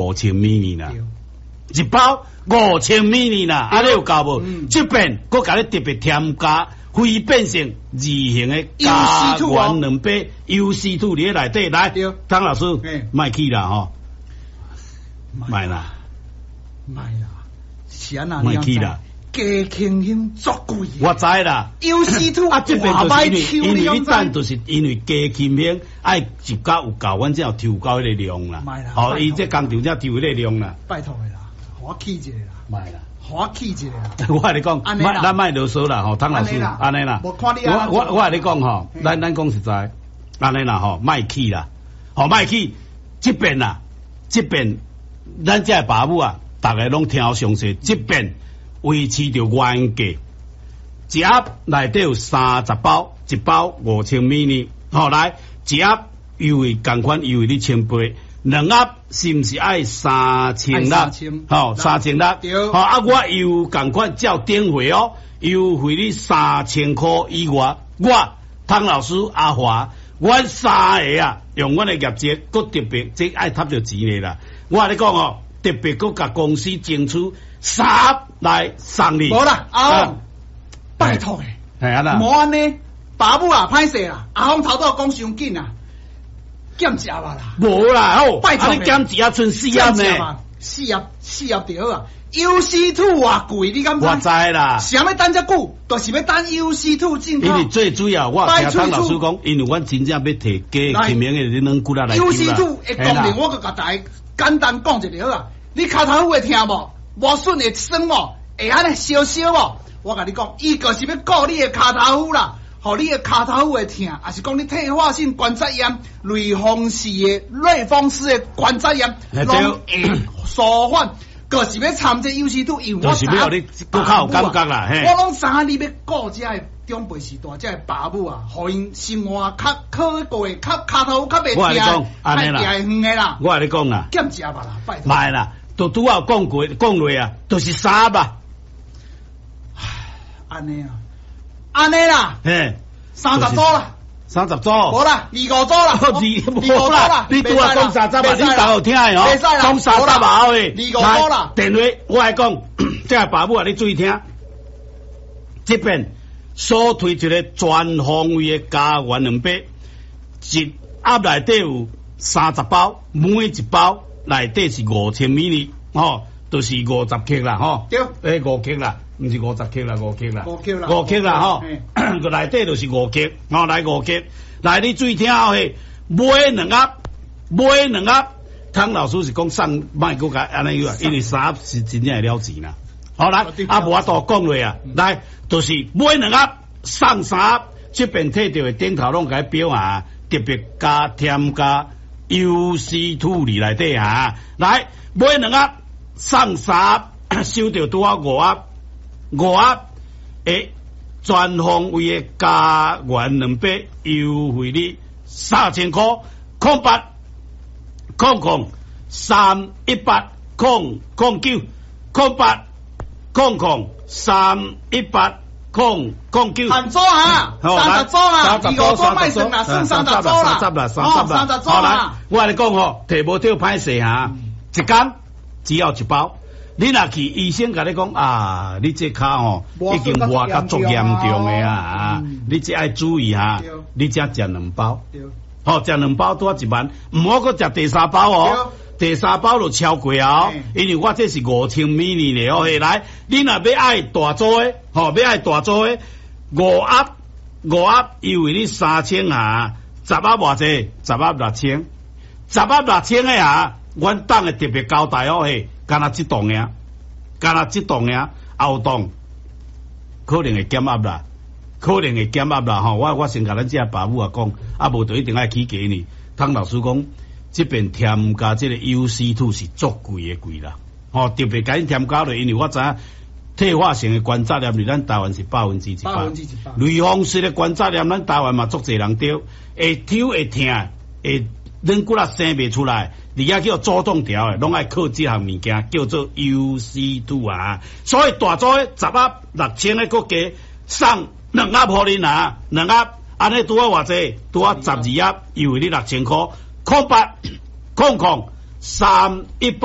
5000 ml 啦，一包5000 ml 啦，按呢有夠無？這邊閣共你特別添加非變性二型的膠原蛋白 UC two 佇咧內底，來，湯老師，莫去啦吼，莫啦，莫啦，是按怎？莫去啦。加輕胸足貴，我知啦。 UC two 啊，這邊就是因為你等，就是因為加輕胸愛一加有夠，阮才有抽夠彼个量啦。吼，伊這工廠才抽彼个量啦。拜託的啦，予我去一下啦。莫啦，予我去一下啦。我共你講，莫咱莫囉嗦啦，吼，湯老師，按呢啦。我共你講吼，咱講實在，按呢啦吼，莫去啦，吼莫去。這邊啊，這邊咱這爸母啊，逐个攏聽好詳細，這邊。維持著原價，一盒內底有30包，一包5000 ml。好來，一盒優惠仝款優惠你1800，兩盒是毋是愛3600？好，3600。好啊，我又仝款照頂回哦，優惠你3000箍以外。我湯老師阿華，阮三个啊，用阮的業績，閣特別這愛趁著錢的啦。我共你講哦，特別閣共公司爭取三盒來送你。無啦，阿峰，拜託的，係啊啦，無按呢，爸母啊，歹勢啦，阿峰頭拄講傷緊啦，減一盒啦。無啦，好，拜託，你減一盒賰四盒呢？四盒四盒就好啊。UC two 偌貴，你敢知？我知啦。啥欲等遮久，就是欲等 UC two 進口。因為最主要，我聽湯老師講，因為阮真正欲提加輕胸的軟骨仔來 UC two 的功能，我閣共大家簡單講一下好啊。你跤頭會疼無？磨損會酸無？會按呢燒燒無？我共你講，伊就是欲顧你的跤頭趺啦，予你的跤頭趺會疼，抑是講你退化性關節炎、類風濕的關節炎，攏會舒緩。就是欲摻這 UC two，因為我就是欲予你閣較有感覺啦。我攏知影你欲顧這个長輩時代，這个爸母啊，予𪜶生活較可過，較跤頭較袂疼，較行會遠的啦。我共你講啦，減一盒啦，拜託。莫啦，都拄仔有講過講落啊，就是三盒啊。按呢啊，按呢啦，嘿，30組啦。30組，無啦，25組啦，二無啦，你拄仔講三十啊，你頭有聽的哦，講三十啊，喂，二五組啦。電話我來講，這个爸母啊，你注意聽，這邊所推出的全方位的膠原蛋白，一盒內底有30包，每一包內底是5000 ml，吼，就是50克啦，吼，對，欸，五克啦。毋是50克啦，五克啦，五克啦，五克啦，吼，個內底就是五克，吼，來五克，來你注意聽哦，嘿，買兩盒，買兩盒，湯老師是講送，莫閣共按呢樣啊，因為三盒是真正會了錢啦。好啦，啊無法度講落啊，來，就是買兩盒送三盒，這邊提著的頂頭攏共伊標啊，特別加添加 UC two 佇內底啊，來買兩盒送三盒，收著拄好五盒。五盒的全方位的膠原蛋白優惠你3000箍，0800 318 009，0800 318 009。限組啊，30組啦，25組莫算啦，算三十組啦，三十啦，三十啦，30組啦。我共你講吼，提無著歹勢哈，一工只要一包。你若去醫生共你講啊，你這跤吼已經磨甲足嚴重的啊，你這愛注意哈，你才食兩包，吼，食兩包拄仔一萬，毋好閣食第三包哦，第三包就超過啊，因為我這是5000 ml 的哦，來，你若欲愛大組的，吼，欲愛大組的，五盒五盒優惠你3000啊，十盒偌濟？十盒六千，十盒六千的啊，阮黨的特別交代哦，嘿。干焦這檔爾，干焦這檔爾，後檔可能會減壓啦，可能會減壓啦吼。我先共咱這爸母啊講，啊無就一定愛起價呢。湯老師講，這邊添加這个 UC two 是足貴的貴啦，吼，特別共𪜶添加落，因為我知影退化性的關節炎佇咱台灣是100%，類風濕的關節炎，咱台灣嘛足濟人著，會抽會疼，會軟骨仔生袂出來。而家叫主動調的，攏愛靠這項物件叫做 UC two 啊。所以大組的十盒六千的閣加送兩盒予恁啊，兩盒按呢拄仔偌濟，拄仔12盒，優惠你6000箍，0800 318。